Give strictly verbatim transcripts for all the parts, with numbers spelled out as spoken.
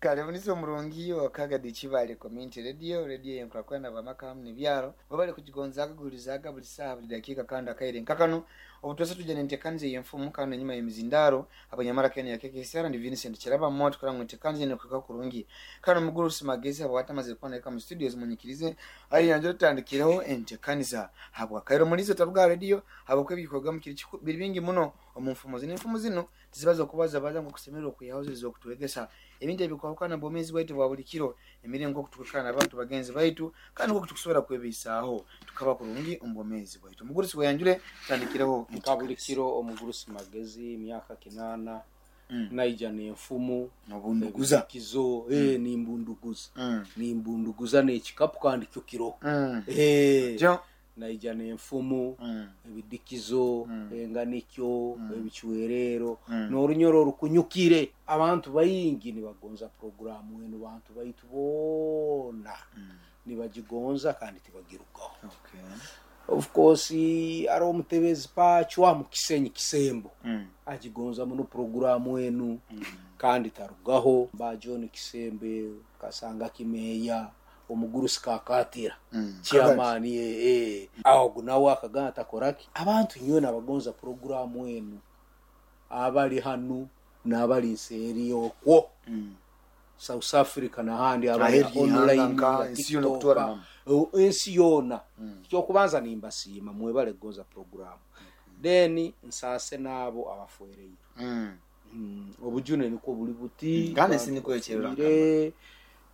Kale omurungi wakagadi Kibale Community Radio, radio yenkurakwenda bamaka hamu nebyaro webale kugigonzaga guhulizaga buli saaha, buli dakiika kandi akaire nkakano. Obutwese tujja nenteekaniza ey'enfumu kandi enyuma y'emizindaro abanyamara kene yakekesera ndi Vincent Kiraba moto kora nteekaniza enokuka kurungi. Kandi omugurusi Magezi abwata amazire kuba naika mu studios, munyikirize ari yanjye tutandikireho enteekaniza habwa kairo mulizo taruga radio habwa ebikorwa mukiri biri bingi muno omu nfumo zino. Enfumo zino tizibaza okubaza baza ngu kusemererwa okwihaho okutwegesa ebintu ebikwahukana bwomezi bwaitu bwa buli kiro, emiringo okutukana abantu bagenzi baitu kandi nko tukusobora kwebisaaho tukaba kurungi omu bwomezi bwaitu. Omugurusi weyanjure tutandikireho. Nka buli kiro omugurusi Magezi emyaka kinana mm. Naija n'enfumu nobunduguza kizo mm. eh nimbunduguza mm. nimbunduguza n'ekikapu kandi kyo kiro mm. eh jo naija n'enfumu mm. ebidikizo mm. enganikyo mm. ebichwerero mm. n'orunyoro orukunyukire. Abantu baingi nibagonza programu enu, bantu baitu boona mm. nibagigonza kandi tibagirugaho. Okay. Of course ari omutebezi pachwa mu Kisenyi Kisembo mm. agigonza muno programu enu mm. kandi tarugaho. Ba John Kisembe kasanga kimeya omugurusi kakatira mm. chairman eh eh awo nawe akagana takoraki. Abantu nyowe abagonza programu enu abali hanu n'abali nseeri okwo mm. South Africa n'ahandi abali Aheri online ihanga, ensi yona okutwara TikTok, ensi yona Mm. Kyokubanza nimbasiima mwebale kugonza programu. Then nsaase n'abo abafuereire mm. mm. Obujune niko buli buti Mm. Kandi ensi niko ekyerura Bafuire,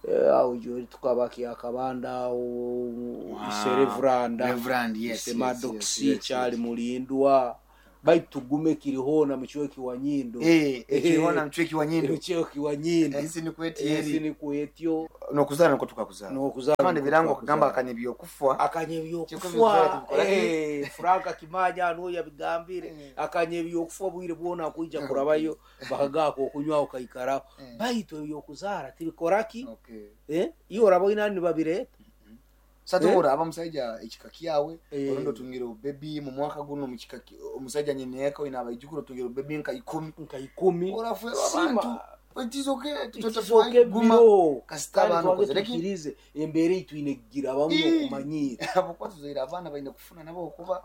eh, awo gyoli tukaba kyakabanda awo ise Reveranda Reverend, yes, ise yes, Maddox yes, yes, kyali yes. mulindwa baitu tugume kirihona muchweki wa nyindo. Eh, ekirihona muchweki wa nyindo. Muchweki wa nyindo. Ensi niko Ensi eti niko etyo. Nokuzara niko tukakuzara. Nokuzara Kandi niko birango tukakuzara. kugamba akanye byokufa. Akanye Kiko byokufa. tubikora ki? Eh, Franka Kimanya ano yabigambire. Eh. Akanye byokufa bwire bwona kuija kurabayo bakagako okunywa okaikara. Eh. Baitu ebyokuzara tibikoraki? Okay. Eh, iyo oraboina ni babireta. Satumura aba musajja ekika kyawe Eh. orondo tungire obebi mu mwaka guno mu kika ki- omusajja nyine eka ina abaijukuru tungire obebi nka ikumi. Nka ikumi. Orafuerwa Sima. abantu. It is okay. Tutoke guma. biro. Kasita Kandi abantu twange kozereki. tukirize embere itwine kugira bamwe Ii. okumanyira. Abo tuzoira abaana baine kufuna nabo okuba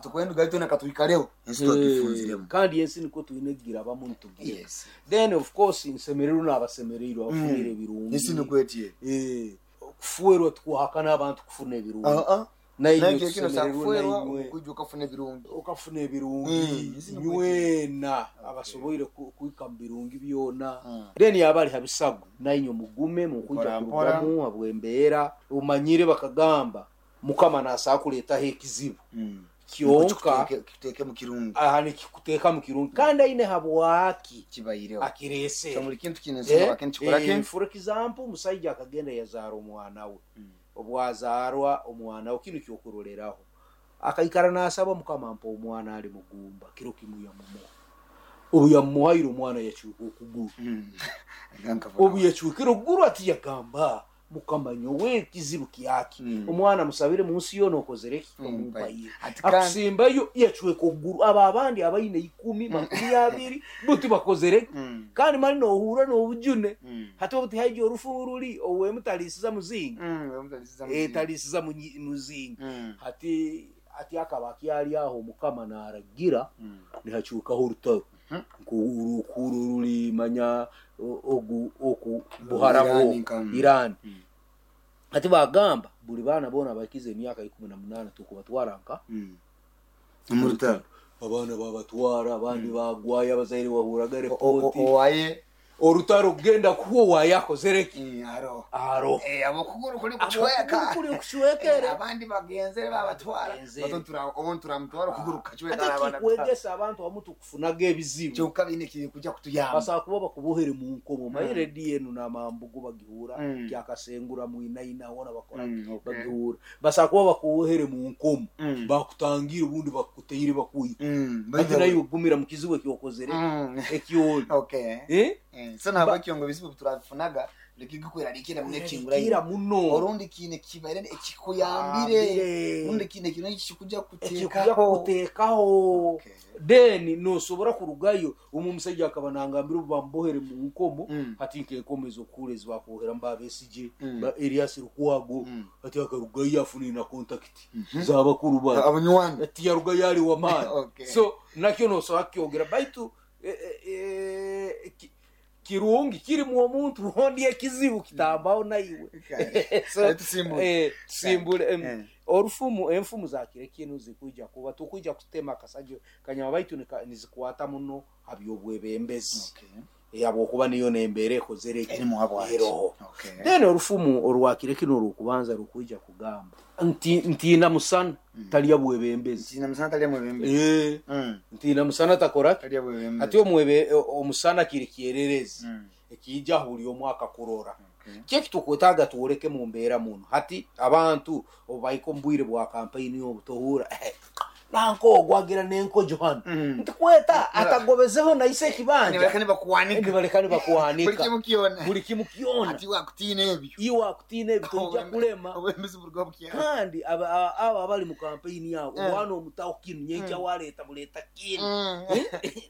tukwenda gaito na katuikareho. Ensi twakifunziremu. Kandi ensi niko twine kugira bamwe nitugira. Yes. Then of course nsemererwa n'abasemereirwe abafunire ebirungi. Ensi niko eti. Eh, kufuerwa tukuhakana abantu kufuna ebirungi. Ah ah. Naye Naye kino tusemererwa sakufuerwa nainywe. okujja okafuna ebirungi. Okafuna ebirungi Mm, ensi niko nywena abasoboire ku- kuika mu birungi byona. Mm. Then abali habisago nainywe mugume mukuja Mpora mpora. kurugamu habwembeera umanyire bakagamba mukama nasaa kuleetaho ekizibu Mm. kyonka Kituteeke mu kirungi. aha nikikuteeka mu kirungi kandi aine habwaki Kibayireho. akireese. So buli kintu kine ensonga Eh, kintu kikora eh, ki? for example omusajja akagenda yazaara omwana we. Mm. Obwazaarwa omwana we kino kyokuroreraho akaikara n'asaba mukama mpa omwana ali mugumba kiro kimu yamumuha. Obu yamuhaire omwana yacuka okuguru. Mm. Nganka Obu yacukire okuguru ati yagamba mukama nyowe ekizibu kyaki. Mm. Omwana musabire munsi yoona okozere ki? Mm, Omumpaire. Ati kandi Akusimbayo yacweka okuguru. Abo abandi abaine ikumi makumi abiri bo tibakozere ki? Mm. Kandi mali nohura n'obujune. Mm. Hati obu tihaija orufu ruri owemutalisiza muzinga. Mm, wemutalisiza Eh, muzinga. talisiza munyi- muzinga. Mm. Hati ati akaba akyali aho mukama naragira Mm. nihacukaho orutaro. Mhm. Nko urukuru ruri manya o- ogu oku buharabo Irani nka- Irani. Mm. Hati bagamba buli baana boona bakize emyaka ikumi na munana tukubatwara nka Mm. Mu rutaro. Abaana babatwara abandi bagwayo abazaire bahuraga O- o- repoti. Owaye Orutaro kugenda kuwo wayakozere ki? Mm, aro. Aro. Eh, abokuguru kuli kuchweka. Abokuguru kuli kuchwekere. Eh, abandi bagenzere babatwara. Bagenzere. Bato tura obontura mutwara okuguru kachweka Ate abana. kikwegesa abantu abamu tukufunaga ebizibu. Kyokka bine kiri kujja kutuyamba. Basobola kuba bakubohere mu nkomo. Maye rediyo enu n'amambugu bagihura Mm. kyakasengura mwinaina wona bakora Mm, okay. bagihura. Basobola kuba bakubohere mu nkomo. Mm. Bakutangira ubundi bakuteire bakuyita. Mm. Ati nayo ogumira mu kizibu ekyokozere Mm. ekyoli. Okay. Eh? Eh, so ntabwo ekyo ngo bizibu turabifunaga Likigukweraliikira muno Kira ekinguraine muno orundi kiine kibaire ekikuyambire Ambire. rundi kiine kino ekikuja ekikuja kuteekaho. kuteekaho. Okay. Then nosobora kurugayo omu omusajja akaba nangambira obu bamubohere mu nkomo, Mm. hati nkenkomo ezokuhura ezibakuboheramu ba Besigye, Mm. ba Erias Lukwago, Mm. hati akarugayo afunire na contact z'abakuru ba Abanywanyi. ati yarugayo ali wamaani. Okay. So nakyo nosobora kukyogera baitu eh, eh, eh, ki- kirungi kirimu omuntu ondi ekizibu kitambaho naiwe. Okay. So, Kale tusimbule. eh, tusimbule. Em, Eh. Orufumu enfumu zakire kinu zikwija kuba tukwija kutema akasajo kanyama baitu nika- nizikwata muno ha byobwebembezi. Okay. Habwokuba niyo nembeera ekozere eki? Erimu habwaki. Eroho. Okay. Then orufumu orwakire kino orwokubanza rukwija kugamba nti ntiina musana talya bwebembezi. Ntiina musana talya mwebembezi. Eh, Mm. ntiina musana takora Talya bwebembezi. ati omwebe omusana kiri kyererezi Mm. ekiija buli omu akakurora. Okay. Kyeki tukwetaaga tuworeke mu mbeera muno hati abantu obubaika omu bwire bwa kampeyini obu tohuura nanka ogwagira n'enkojo hano, Mm. ntikweta atagobezeho naise ekibanja. Nibaleka nibakuwanika. Nibaleka Buli nibakuwanika. kimu kyona. Buli kimu kyona. Ati wakutiina ebyo. Iwe akutiina ebyo tojja kulema. Obwembezi buruga bukyalo. Kandi aba- aba aba abali mu kampeyini yabo, Eh. omwana omutaho kinu nyenkya waleeta buleeta kinu, Mm.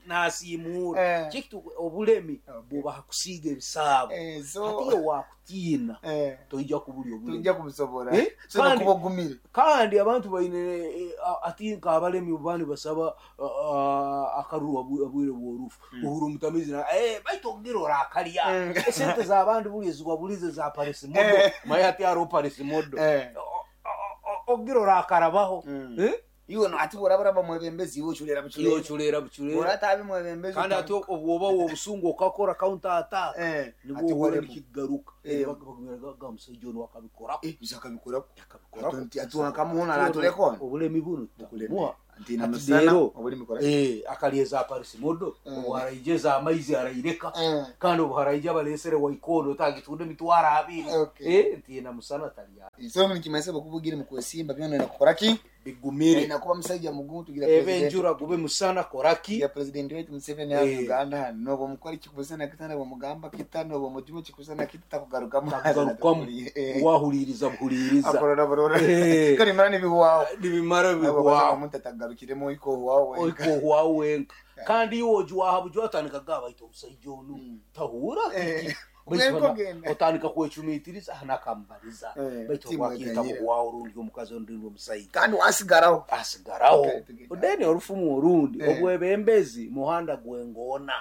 nasiimuura. Eh. Kikitu obulemi Okay. buba hakusiiga ebisaabo. Eh, so Hati iwe wakutiina eh, toija kubulya obulemi. tujja kubusobola. Eh? So Kandi- nokuba ogumire. Kandi abantu baine eh, a- ati nk'abalemi bani basaba ah, akaruru abu- abwire bw'orufu uhuru mutamizi na eh, baitu ogira orakalya Mm. esente z'abandi buli eziwabulize za parisimodo, Eh. maye ati hariho parisimodo. Eh. O- o- o- ogira orakarabaho. Mm. Eh? Iwe no ati bw'oraba mwebembezi iwe ochulera Iwe buchulera. oculera buculera. Bw'oratabi mwebembezi. Kandi ati obwoba wobusungu okakora counter attack, Eh, nibwo ati ohura waremu. nikigaruka. Eh. Bagumira musajja ono akabikorako. Eh, biza akabikorako. Akabikorako. Ati atuwakamuhona aratulekona. Obulemi buno tutamuha. Ntiina Ati musana leero, obulimi kora. eh, akalya eza parisimodo, Eh. obu haraija ez'amaizi araireka, Eh. kandi obu haraija balesere waikondo otagitunda emitwaro abiri. Okay. Eh, ntiina musana talya. So nikimanyisa bw'okuba mu kwesimba byona nakukora ki? Bigumire. Nakuba musajja mugumu tugira Ebe president. enjura gube musana koraki. Ya president wetu Museveni hano Eh. Uganda hano nobo mukora kikusana kitana bomugamba kitano bomujuma kikusana kita kugarukamu. Takugarukamu. Eh. Wahuliriza buhuliriza. Akorora borora. Eh. Kali mara nibiwawo. Nibimara Abo bigwaho. omuntu atagarukiremo iko wawo wenka. Oiko wenka kandi iwe ojuwaha buju otandika gaba ita omusajja ono tahuura. Eh. Baitu Ogenda bana- ogenda. otandika kwecumitiriza nakambaliza, Eh, baitu timu obwakiyita eganyira. buhwaho orundi omukazi ondi omusajja Kandi wasigaraho. asigaraho. Okay, tugenda. Then orufumu orundi, Eh. obwebembezi muhanda gwengoona,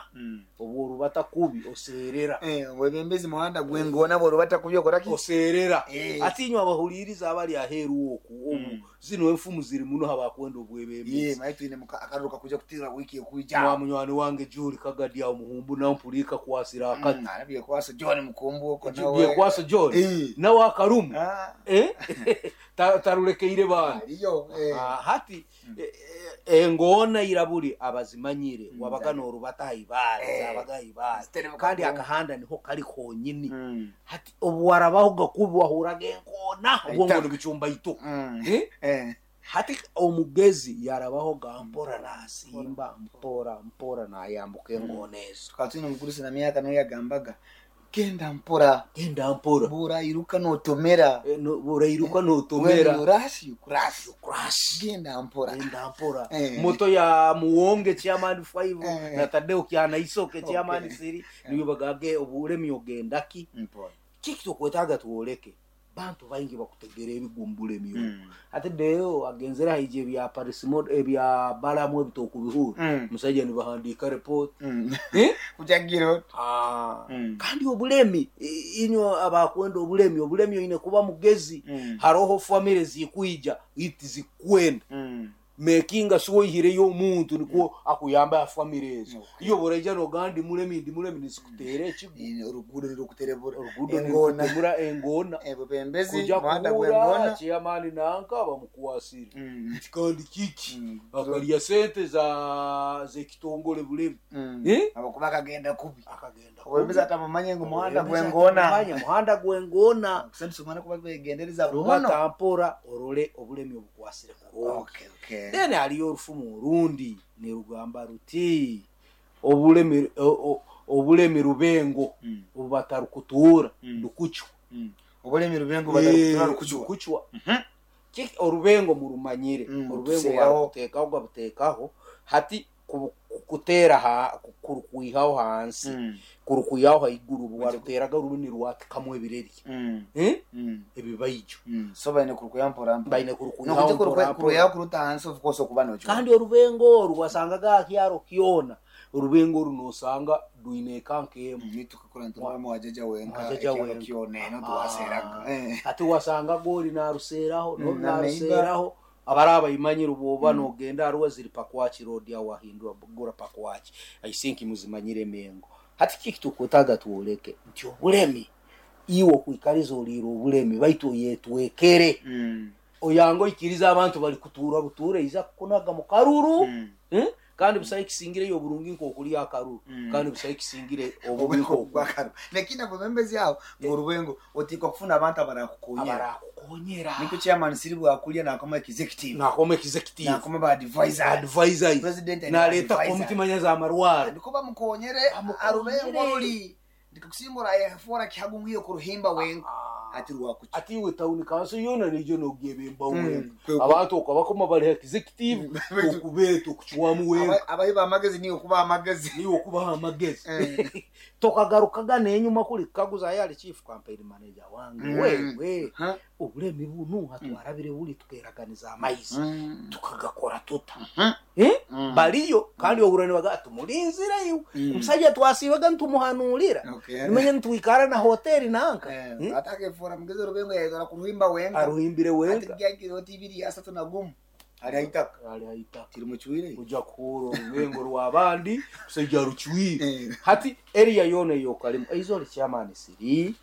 obworubata kubi oseerera. Eh, obwebembezi muhanda gwengona bworubata kubyo okora ki? Oseerera. Eh. Ati inywe abahuliriza abali aheeru oku obu zino enfumu ziri muno habakwenda Ye, obwebembezi. mayi twine muka- akaruru kakuja kutira wiki ekuija. Mwa munywani wange Juli Kagadi awo muhumbu nampulika kwasira akati. Mm, arabye kwasa John Mukumbu oko nawe. Byekwasa John Eh. nawe akarumu. Ah, Eh? Ta- tarulekeire baana. aliyo eh. Ah, hati eh, eh, engoona irabuli abazimanyire wabaga norubata haibaale, Eh. zabaga haibaale. Zitereka Kandi ku- akahanda niho kali konyini. Mm. Hati obuwarabaho gakubi wahuraga enkoona obwongo Aitaka. nibicumba ito. Mm. Eh? Eh. Hati omugezi yarabaho ga mpora nasimba mpora mpora nayambuka engoona ezo. Tukaba twine omugurusi na myaka nawe yagambaga genda mpora. Genda mpora. Burairuka notomera. Eh, no- burairuka When notomera. you rush, you crash. Crash. Genda mpora. Genda mpora. Eh. Moto ya muwonge chairman five Eh. na tadeo kyanaisoke chairman Okay. siri niyo bagage obulemi ogendaki. Mpora. Kiki tukwetaaga tuwoleke bantu baingi bakutegera ebigumbula emyoyo. Mm. Ate deo agenzere haija ebya parisimo ebya balamu ebitokubihura, Mm. musajja nibahandiika report. Mm. Eh? Kujagira. Ah. Mm. Kandi obulemi i- inywe abakwenda obulemi obulemi oine kuba mugezi. Mm. Haroho famire zikwija iti zikwenda, Mm. mekinga siwoihireyo omuntu nikwo akuyamba ya famire ezo. Okay. Iyo buraija nogamba ndi mulemi ndi mulemi nisikuteera ekigo. Ine oruguudo nirukuterebura. Oruguudo Engona. nirikutemura engona. Ebubembezi Kuja muhanda kuhura gwengona. chairman nanka bamukwasire. Mm. Nti kandi kiki? Mm. Akalya sente za zekitongole bulemi. Mm. Eh? Abakuba akagenda kubi. Akagenda. Obwembezi atamumanye ngu muhanda Obwembezi gwengona. atamumanya, muhanda gwengona. Kusema kuba begendereza muno. Rubata mpora orole obulemi obukwasire kurungi. Okay, okay. Then haliyo orufumu orundi nirugamba ruti obulemi o- o- Obulemi rubengo Mm. obu batarukutuura Mm. rukucwa. Mm. Obulemi rubengo batarukutuura Eh, rukucwa. rukucwa. Mhm. Kiki orubengo murumanyire? Mm, Orubengo tuseeraho. barukuteekaho gabuteekaho hati ku- kuteera ha kurukwihaho hansi, Mm. kurukwihaho haiguru, obu waruteraga ruru nirwatikamu ebireri. Mm. Eh? Mm. Ebibaijo. Mm. So baine kurukuya mpora mpora. Baine kurukwihaho Nokuti mpora mpora. kuruyaho kuruta hansi, of course okuba nokyo. Kandi orubengo oru wasangaga akyaro kyona, orubengo oru nosanga rwine eka nk'emu. Nitukakora ntumwami wajaja wenka. Wajaja Ekyaro wenka. kyona eno Ah. tuwaseraga. Eh. Ati wasangaga oli naruseeraho Mm, noli na naruseeraho, abaraba bayimanyire bwoba nogenda haruwa ziri Pakwaki Road aho wahindura gura Pakwaki. I think muzimanyire emengo. Hati kiki tukwetaaga twoleke nti obulemi iwe okwikariza oliire obulemi baitu oyetwekere. Mm. Oyanga oikiriza abantu bali kutuura butuure iza kukunaga mu karuru. Mm. Eh? Kandi busaho kisingireyo oburungi nk'okulya akaruru. Mm. Kandi busaho kisingire obubi Obubi nk'oku bwakaro lakini ababembezi aho ngorubengo otikwa kufuna abantu abarakukonyera. Abarakukonyera. Nikyo chairman siri bwakulya nakoma executive. Nakoma executive. Nakoma ba advisor. Advisor. President and Naleeta advisor. komiti manya z'amarwaro. Niko bamukonyere. Bamukonyere. Arubengo ruli ndikusimbura yafora kihagungiye kuruhimba wenka ati rwakuki. Ati iwe town council yona nijo nogyebemba Mm, wenka. kwe- Abantu okabakoma bali executive okubeeta okucwamu wenka. Abahi bamagezi niyo kuba amagezi. Niwe okubaha amagezi. Eh. Tokagarukaga nenyuma kuli kaguza yali chief campaign manager wange. Mm. Wewe Huh? obulemi bunu hatwarabire buli tukeraganiza amaizi Mm. tukagakora tuta. Mhm. Eh? Mm. Baliyo kandi ohura nibaga tumulinzire iwe. Mm. Omusajja twasiibaga nitumuhanuurira. Okay. Nimanya nitwikara na hoteri nanka. Eh, Hmm? atakefora mugezi orubengo yaizora kuruhimba wenka. Aruhimbire wenka. Ati gyakiro tibiri asatu na gumu ali haitaka. Ali haitaka. Tiri muchwire. Ojja kuhura orubengo rw'abandi musajja arucwire. Eh. Hati eriya yoona eyokalimu eizo chairman siri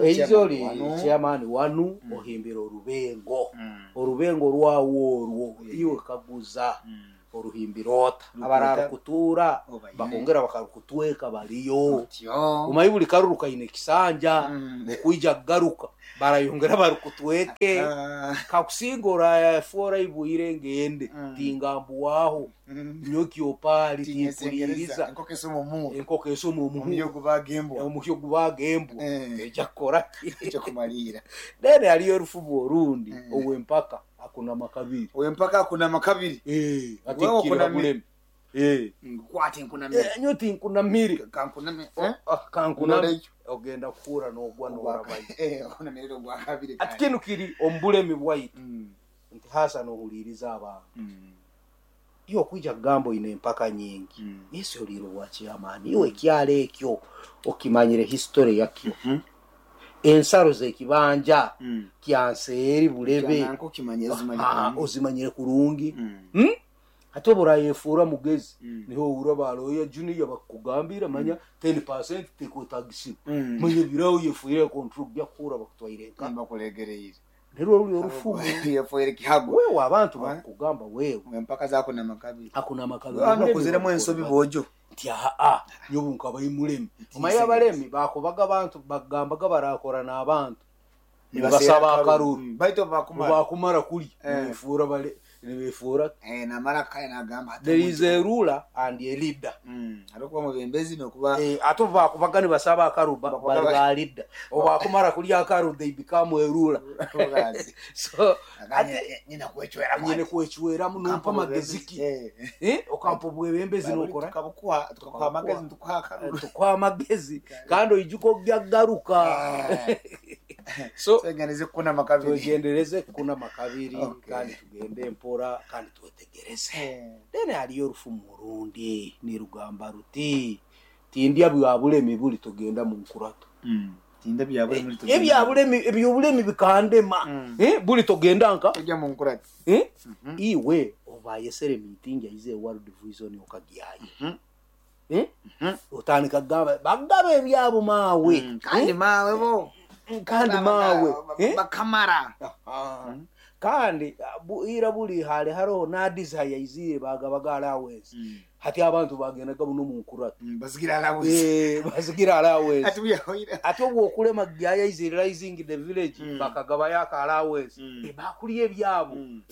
eizo li chairman wanu ohimbira orubengo. Mm. Orubengo rwawo orwo Yeah. iwe kaguza Mm. oruhimbira ota. Rukuta. Abararukutuura Obaine. bakongera bakarukutweka baliyo. Otyo. Omanyi buli karuru kaine ekisanja. Mm. Okwija kugaruka barayongera barukutweke. Ah. Kakusinga orafuora ibwire ngende. Mm. Tingambuwaho. Mm. Nyokyopaali Tinyesengereza. timpuliriza. Enkoko esoma omuhu. Enkoko esoma omuhu. Omuhyo gubagembwa. Omuhyo gubagembwa. Eh. Ejja kukora ki? Ekyo kumalira. Then haliyo orufumu orundi. Mm. Owempaka akunama kabiri. Owempaka akunama kabiri. Eh, ati Wewe kira okunami- bulemi. Eh. Nkwate nkunamire. Eh, nyo tinkunamire. Kankuname. Eh? Ah, kankuname. Nolekyo. Ogenda kuhura n'ogwa n'orabayo. Eh, okunamirira ogwa kabiri. Ati kinu kiri omu bulemi bwaitu. Mm. Nti hasa n'ohuliiriza abantu. Mm. Iwe okwija kugamba oine empaka nyingi. Mm. Yesu oliire obwa chairman. Iwe ekyalo ekyo okimanyire history yakyo. Mhm. Ensaro z'ekibanja Mm. kyanseeri Bulebe. Kyananka okimanye ezimanye Ah, kurungi. ozimanyire kurungi. Mm. Hmm? Ate oburayefuura mugezi. Mm. Niho ohurra baloya junior bakukugambira manya ten percent tekwetagisibwa. Mm. Manya biraho yefuire control byakuhura bakutwaire nka. Bakulegereire. Nirwo ruri orufumu. Yefuire kihago. Wewe abantu Wa- bakukugamba wewe. Empaka zakunama kabiri. Akunama kabiri. Hano kuziremu ensobi bojo. Nti aa nyobu nkabayi mulemi. Omanyi abalemi bakubaga abantu bagambaga barakora n'abantu. Nibasaba akaruru. Mm. Baitu bakumara. Bakumara kuli. Eh. Nibefuura bale nibefuura. Eh, namara kaya nagamba ati There is a ruler and a leader. Mm. Arikuba mubembezi nokuba Eh, ate bakubaga nibasaba akaruru ba- Bakubaga bali ba- ba leader. Obakumara kulya akaruru they become a ruler. Rulers. So Aganye ate nyina kwechwera nyine kwechweramu nompa amagezi ki? Eh. Eh, okampa obwebembezi nokora. Tukabukuha tukakuha amagezi tukuha akaruru. Tukuha amagezi kandi oijuka ogyagaruka. Ah. So Twegendereze kunama kabiri. twegendereze kunama kabiri. Okay. Kandi tugende mpora kandi twetegereze. Eh. Then haliyo orufumu orundi nirugamba ruti tindya bya bulemi buli tugenda mu nkurato. Mm. Tinda byabule muri Ebya bulemi ebyobulemi bikandema. Mm. Eh, buli tugenda nka Tujya mu nkurati. Eh? Iwe obayesere meeting yaize World Vision okagyayo. Mhm. Eh? Mhm. Otandika kugamba bagaba ebyabo maawe. Mm. Kandi mawe bo. Eh? Kandi maawe. Eh? Bakamara. Aha. Kandi bu- ira buli hali haroho n'adisa yaizire bagabaga allowance. Mm. Hati abantu bagendaga buno mu nkuratu. Mm, Basigira allowance. Eh, basigira allowance. Ati buyahoira. Ate obwokulema yaizire rising the village Mm. bakagabayo aka allowance. Mm. Eh, bakulya ebyabo. Mm.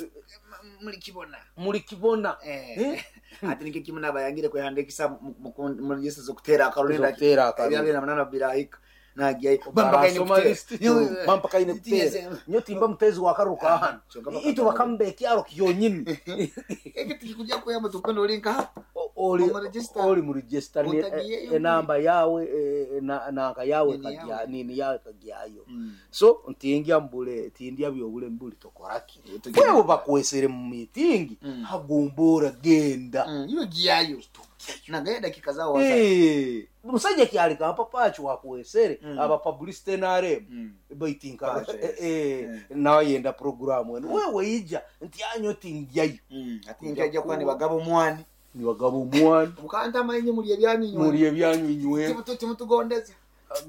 Mulikibona. Mulikibona. Eh. Ati nikyo kimu nabayangire kwehandikisa mu register z'okuteera akaruru. Z'okuteera akaruru. Ebya bibiri na munaana birahika. Nagiyayo. Barasoma list bampaka ine kuteera. Nyo timba mutezi wa karuru ka hano. Itu bakambe ekyaro kyonyini. Eki tikikuja kuyamba tukunda ori nkaha. Ori Omu register. Ori mu register ni- Utagiyeyo. Enamba yawe eh, na nanka yawe Nini kagya yawe. nini yawe kagyayo. Mm. So ntingya mbule tindya byobule mbuli tokoraki. Tugenda. Wewe bakwesere mu meeting Mm. hagumbura genda. Mm, iwe giyayo. Nagaye dakika zao waza. Eh, musajja kyalika mpapacho wakwesere Mm. aba publicity N R M Mm. baitinka Pacho, yes. eh, eh, nawe yenda programu eno wewe ija nti anyo tingyayo. Mm. Ati njaja kuba ni bagabo omwani. Ni bagabo omwani. Mukanta amainye muri ebyanyu inywe. Muri ebyanyu inywe. Timutu timutugondeza.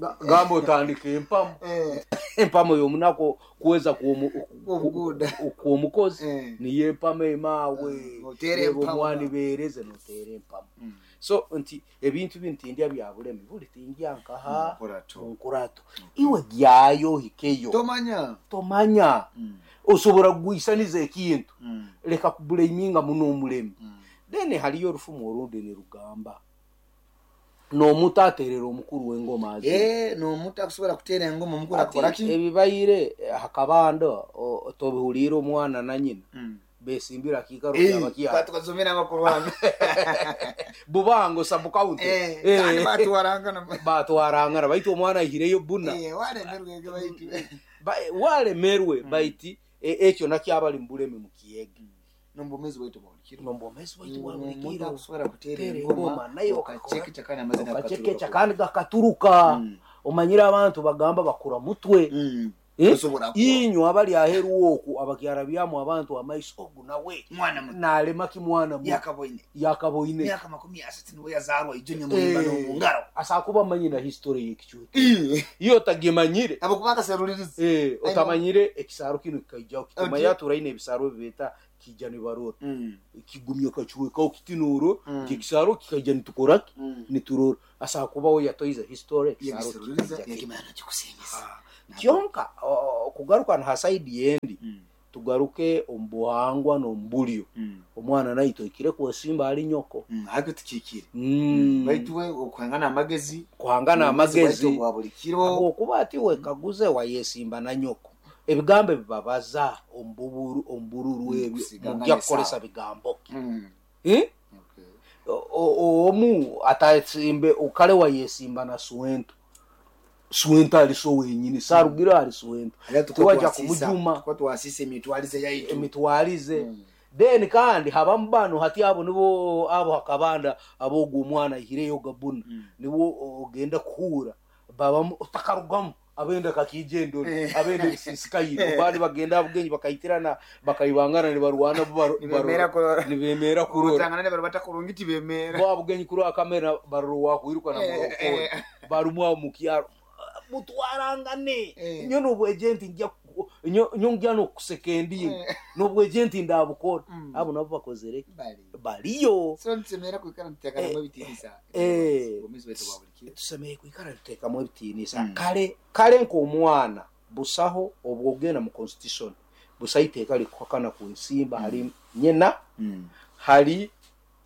Ga- gamba otandika empamo. Eh. Empamo y'omunako kuweza Kuomuguda. kuomukozi Eh. niyo empamo emawe. Mm, otere Yebo empamo. omwani bereze notere empamo. Mm. So nti ebintu bintindya bya bulemi buli tingya nkaha Nkurato. nkurato iwe gyayo hikeyo. Tomanya. Tomanya. Mm. Osobola kugwisaniza ekintu. Mm. Leka kubulaminga muno omulemi. Mm. Then haliyo orufumu orundi nirugamba n'omuto aterera omukuru w'engoma azi. Eh, n'omuto akusobola kuteera engoma omukuru Ati, akora ki? Ebibaire hakabando tobihuliire omwana na nyina. Mm. Besimbira kiikaro Eh, kyabakya. tukazomera amakuru hano. Bubango sub county. Eh, kandi batwarangana. Batwarangana baitu omwana ahireyo buna. Eh, walemerwe ge baitu. Ba- walemerwe baiti ekyo nakyo abali mu bulemi mu kiyege. Nombomezi waitu bwa buli kiro. Nombomezi waitu bwa buli Omuntu kiro. akusobola kuteera Kuteera engoma engoma, naye okacekeca kandi amazina okacekeca gakaturuka. Kandi gakaturuka. Mm. Omanyire abantu bagamba bakura mutwe. Mm. Eh? Osobola kuba. Inywe abali aheru oku abakyara byamu abantu amaiso ogu nawe. Mwana muto. Nalema ki mwana muto. Yakaboine. Yakaboine. Myaka makumi asatu niwe yazarwa ijo nyamuhimba Eh. n'omungaro. Asakuba amanyi na history y'ekicuucu. Eh. Iyo otagimanyire. Abakuba akaseruliriza. Eh, otamanyire ekisaro kino kikaijaho Otyo. kitumanya turaine ebisaro bibeta kijja nibarora. Mm. Kigumya kacuwekaho kitinuro Mm. ekisaro kikaija nitukoraki Mm. niturora asakubaho yatoize history ekisaro Yagiseruliriza kikaija yakimanya nakikusingiza. kyonka okugaruka ha side yendi Mm. tugaruke omu buhangwa n'omu bulyo. Mm. Omwana naito oikire kwesimba ali nyoko. Mm, ariko tukikire. Mm. Baitu we okuhangana amagezi. Kuhangana amagezi. Baitu bwa buli kiro. Habwokuba ati wekaguze wayesimba na nyoko ebigambo ebibabaza omu omubururu Mm, ebyo kusigangana mujja kukolesa esawa. bigambo ki? Mm. Eh? Okay. O- o- omu atasimbe okale wayesimba na suwento suwento ali so wenyini sarugira ali suwento Era tiwajja twasisa- kumujuma tukuba twasisa emitwalize yaitu. Emitwalize. Mm. Then kandi habamu bano hati abo nibo abo hakabanda abogu omwana ahireyo gabuna. Mm. Nibo ogenda kuhura babamu otakarugamu abenda kakijendo Eh. abenda ebisisikayire bandi bagenda abugenyi bakaitirana bakaibangana nibarwana bo baro- Nibemera barora- kurora. nibemera kurora. Urutangana ne barubata kurungi tibemera. Bo abugenyi kuri akamera baroro wakwiruka na Eh, murokore eh. barumwa mu kyaro mutwarangane. Eh. Nyo nobwejenti njya ku- nyo nyo njya nokuseka endingi Eh. nobwejenti ndabukora. Mm. Abo nabo bakozere Bali. Baliyo. So nsemera kwikara ntutekana mu ebitiinisa. Eh. Obwomeezi bwaitu bwa buli kiro. Tusemeye kwikara tutekamu ebitiinisa. Mm. Kale kale nk'omwana busaho obwogenda mu constitution busaho iteeka likuhakana ku nsimba hali nyina Mm. hali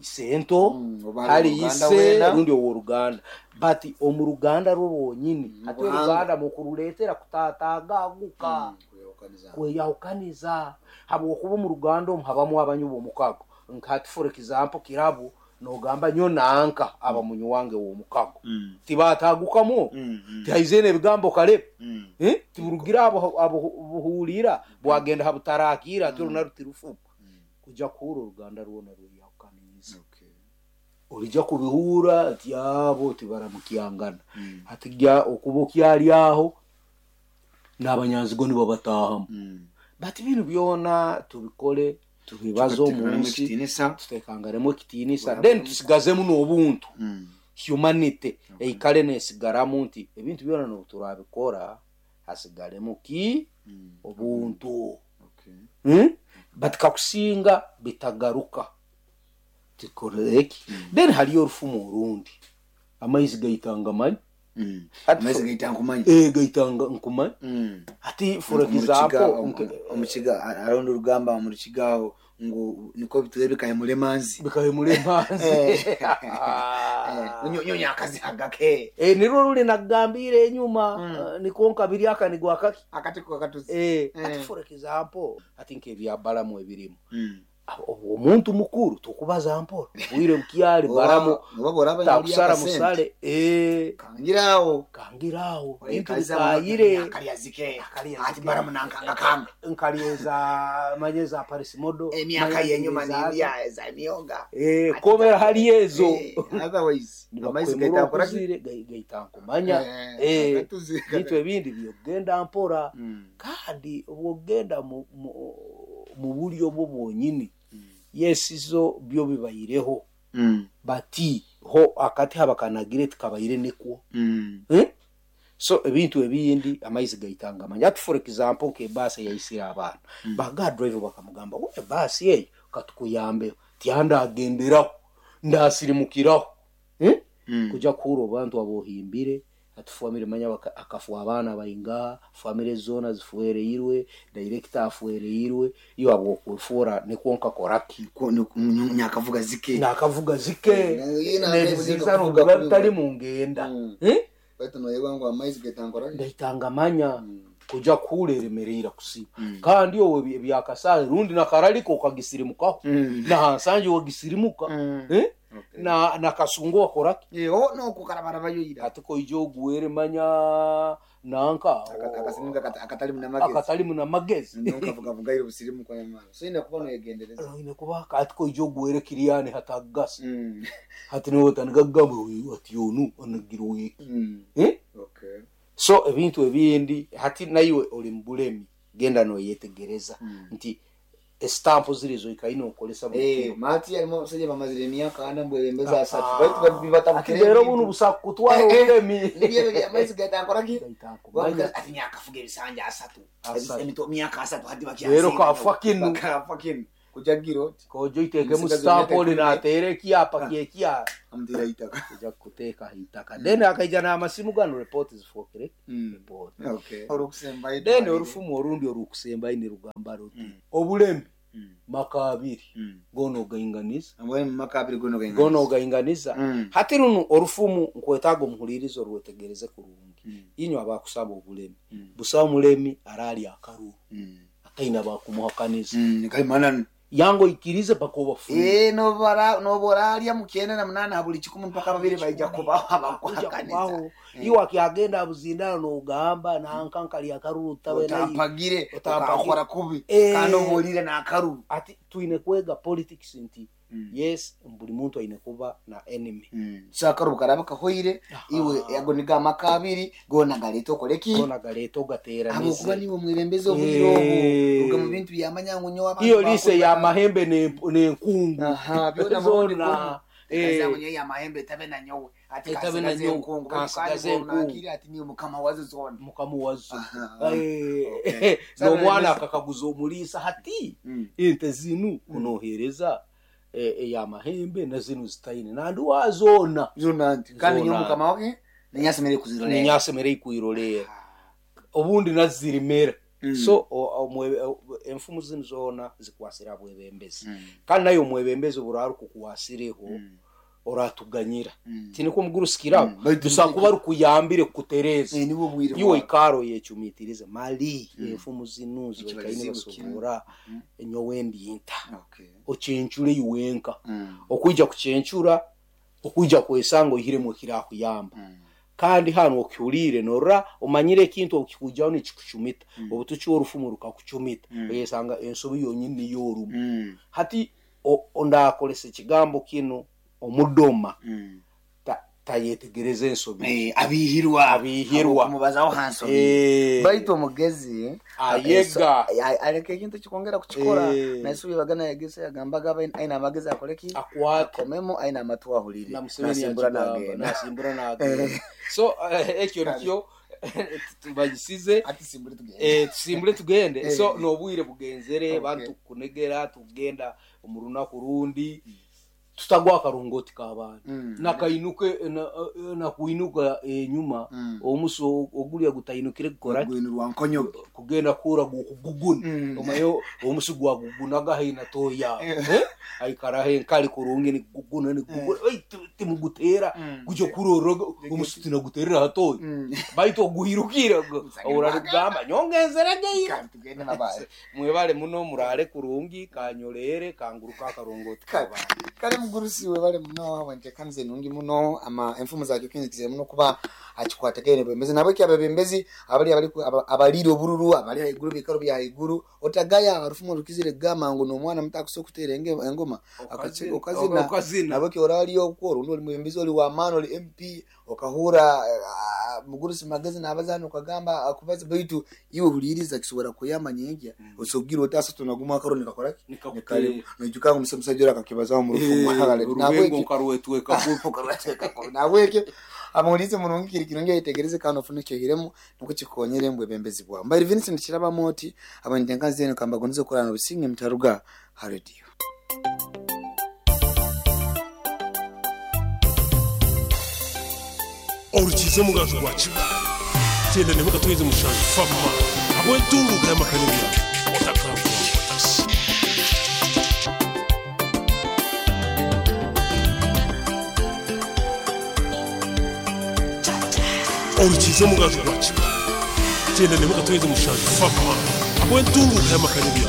isento Mm, oba hali ow'oluganda ise weena. rundi ow'oluganda but omu ruganda rwo rwonyini Mm, ate buhanga. oruganda mukuruleetera kutaataagaguka. Mm, kweyawukaniza. Kweyawukaniza habwokuba omu ruganda omu habamu abanyu b'omukago nkati for example kirabu nogamba nyo nanka aba munyu wange w'omukago Mm. tibataagukamu. Mm, mm, Tihaizene ebigambo kale. mm. Eh? Tiburugira abo abo buhulira bwagenda habutarakira ati oruna rutirufuka kujja kuhura oruganda rwona rweyawukaniza. Okay. Olijja kubihura ati abo tibaramukyangana. Mm. Ati gya okuba okyali aho n'abanyanzigo nibo batahamu. Mm. But binu byona tubikole tubibaze omu Tuteekanemu nsi ekitiinisa. Tutekangaremu ekitiinisa. Bwaba- Then tusigazemu n'obuntu Mm. humanity eikale nesigaramu nti ebintu byona nobu turabikora hasigaremu ki? Mm. Obuntu. Okay. Hmm? But kakusinga bitagaruka tikoreki then haliyo orufumu orundi amaizi gaitanga manyi. Mm. Ati Amaizi fo- gaita nkumanyi. Eh, gaitanga nkumanyi. Mm. Ati for Omukiga- example omu- omukiga arondi orugamba omu rukiga aho Ngu niko bitule bikahemura emanzi. Bikahemura emanzi. Eh. Nyonya akazihagake. Eh, nirwo ruli nagambire enyuma. Mm. uh, niko nkabiri aka nigwa akaki akati ko katuzi. Eh, Eh. ati for example ati nk'ebya Balamu ebirimu. Mm. Omuntu mukuru tukubaza mpora bwire bukyali Balamu oba boraba takusara musale eh kangirawo kangirawo bintu Oikaza bikayire akalyazike Akalyazike. ati Balamu nankanga kanga nkalyeza manyeza Paris modo emyaka yenyuma nindya za myoga. Eh, komera hali ezo. Eh, otherwise amaizi gaita akora ki? Gaita nkumanya. Eh, Eh, akatuzi. Bintu ebindi byogenda mpora. Mm. Kandi bwogenda mu, mu, mu buryo bwo bwonyini Mm. yesizo byo bibayireho. Mm. Bati ho akati habakanagire tukabayire nikwo. Mm. Eh? So ebintu ebindi amaizi gaitanga amanya. Ati for example ke basi yaisira abaana. Mm. Baga driver bakamugamba we basi eyo katukuyambe tyanda agenderaho ndasirimukiraho. Eh? Mm. Kuja kuro bantu abohimbire atufamire manya baka- akafu abaana bainga famire zona zifuereirwe director afuereirwe iyo abwokwefura nikwo nkakoraki. Ko- ni- ni- nyakavuga zike Nakavuga zike. Eh, na- Nebiziza kuvuga biba kubi. bitali mu ngenda. Mm. Eh? Baitu noyebwa ngo amaizi gaitankora ki? Ndaitanga manya. Mm. Kuja kuleremerera kusiba. Mm. Kandi owe byakasale rundi nakaraliko okagisirimukaho. Mm. Na hansanje wagisirimuka. Mm. Eh? Okay. Na nakasungo wakoraki. Eh, oh, no kukarabara yoira. Ati koijo oguwere manya nanka Aka- akasirimuka akata- akatali muna magezi. akatali muna magezi. Nonka vuga iro busirimu kwa nyamara. So ina kuba noyegendereza. Ine kuba ati koijo oguwere kiriyani hatagasa. Mm. Hati niwe otaniga uyu ati yonu onagira wiki. Mm. Eh? Okay. So ebintu ebindi hati naiwe oli mubulemi genda noyetegereza. Mm. Nti estampu zirizo ikaina okolesa buli Eh, kiro. mati alimo abasajja bamazire emyaka ana mbwebembeza asatu. Ah. Baitu bibatabukire. Ati leero buno busa kutwara Eh, eh. obulemi. Nibyo ebyo amaizi gaitankora ki? Gaitankora. Ati nyakafuga ebisanja asatu. Asatu. Emito myaka asatu hati bakya. Leero kafa kinu. Kafa kinu. Kujagira oti. Kojo itekemu Omusigazi stampu omyaka oli ikumi. nateera ekyapa kyekya. Amutera itaka. Kuja kuteeka itaka. Then akaija n'amasimu gano report zifokere. Mm. Report. Okay. Olukusembayo. Then orufumu orundi orukusembayo ni rugamba ruti. Mm. Obulemi Mm. maka abiri. Mm. Gono ogainganiza. Ambwe maka abiri gono gainganiza. Gono ogainganiza. Mm. Hati runo orufumu nkwetaaga omuhulirizo orwetegereze kurungi. Mm. Inywe abakusaba obulemi. Mm. Busa omulemi arali akaruru. Mm. Akaina bakumuhakaniza. Mm, kaimananu. Yango ikirize paka obafunire. Eh, nobara noboralya mukyenda na munana buli kikumi mpaka babiri baija kubaho abakuhakaniza. Iwe akiagenda abuzindano n'ogamba nankankali akaruru tabe nayi. Otampagire, Otampagire. okakora kubi. Eh. Kandi obuulire n'akaruru. Ati twine kwega politics nti Mm. yes buli muntu aine kuba na enemy. Mm. So akaruru karaba kahoire Aha. iwe ago niga amaka abiri gona galeeta okoleki. Gona galeeta ogateeranize. Habwokuba niwe omwebembezi obwire obu Eh. ruga mu bintu byamanya ngu nyowe abantu Iyo lise bakuru ya ba- mahembe n'enkungu. Aha, byona murundi Zona. gumu. Eh. Kaza nyowe ya mahembe etabe na nyowe. Ati Etabe na kansigaze nyowe, enkungu. kansigaze Kandi enkungu. nakiri ati niwe mukama wazo zona. Mukama wazo. Aha. Eh, Okay. n'omwana akakaguza omuliisa hati Mm. ente zinu kunohereza eya mahembe na zinu zitaine nandi wazona. Zona nti kandi Zona. nyowe mukama wake ninyasemere kuzirolera. Ninyasemere kuirolera. Obundi nazirimera. Mm. So o- omwe- o- enfumu zinu zona zikwasira bwebembezi. Mm. Kandi nayo omwebembezi buraru kukwasireho Mm. oratuganyira. Mm. Tiniko omugurusikiraho. Mm. Baitu Dusa kuba rukuyambire kukutereza. Eh, niwe bwire Iwe bwawe. ikaro yechumitirize mali Mm. enfumu zinu Ekibalizibu zikaine basobora Mm. enyowe ndinta. Okay. Ochenchure iwenka. Mm. Okuija kuchencura okuija kwesanga ohiremu kirakuyamba. Mm. Kandi hano okiulire norra omanyire ekintu okikujaho nikikuchumita. Mm. Obutuchi orufumu rukakuchumita. Mm. Oyesanga ensobi yonyini niyo orumu. Mm. Hati ondakolesa ekigambo kino omudoma. Mm. Ta, tayetegereza ensobi. Eh, abihirwa. Abihirwa. Kumubazaho hansobi. Eh. Baitu omugezi Ayega. aleka ekintu kikongera kukikora. Eh. Naisubi bagana yegesa yagambaga aina amagezi akoleki. Akwate. Akomemo aina amatu ahulire. Na Museveni Nasimbura akigamba, nagenda. nasimbura nagenda. So eh, ekyo nikyo tubagisize. Ati simbure tugende. Eh, tusimbure tugende. Eh. So nobwire bugenzere Okay. bantu kunegera tugenda omurunaku rundi. Tutagwa akarongoti k'abaana. Mm. Nakainuke na, nakuinuka enyuma Mm. omuso ogulya gutainukire kukora Gwinu rwa nkonyoge. Kugenda kura gukuguguna Mm. omayo omusi gwagugunaga haina toya Eh. eh aikara he nkali kurungi ni guguna ni guguna oi timugutera Mm. gujo kuroroga omusi tinaguterera hatoya Mm. baitu oguhirukira urarugamba nyongenzerege Kandi tugende mabaye. mwebale muno murale kurungi kanyorere kanguruka akarongoti Kale. Kale mugurusi webale muno wentekanze nungi muno ama enfumu zakyo kinzikizire muno kuba akikwatagene bwembezi nabwe abebembezi abali abali abalire obururu abali haiguru bikaro bya haiguru otagaya abarufumu rukizire gama ngo nomwana mutakuso kutera enge- engoma Okazina. okazina Okazina. nabwe orali okwo rundi oli mwembezi oli wamaani oli M P okahura ah, mugurusi magezi nabazana okagamba akubaza baitu iwe huliriza kisobora kuyamba nyengya osogira otasa tunaguma akaro nikakora ki Nikakutera. nijuka ngo musajja ora akakibazaho mu rufumu urubengo nkarwetweka nabwekyo amulize murungi kiri kirungi ayitegereze kandi ofune kyohiremu nuko kikonyere mbwe bembezi bwawe mbairi Vincent Kiraba oti abanitenkazi eno kambagonize okurana obusinge mutaruga ha radio. Orukize mugaju gwa kiba tenda nemukatweze mushanju fama abwentunguka y'amakanibya otakangwa otasi. Orukize mugaju gwa kiba tenda nemukatweze mushanju fama abwentunguka y'amakanibya.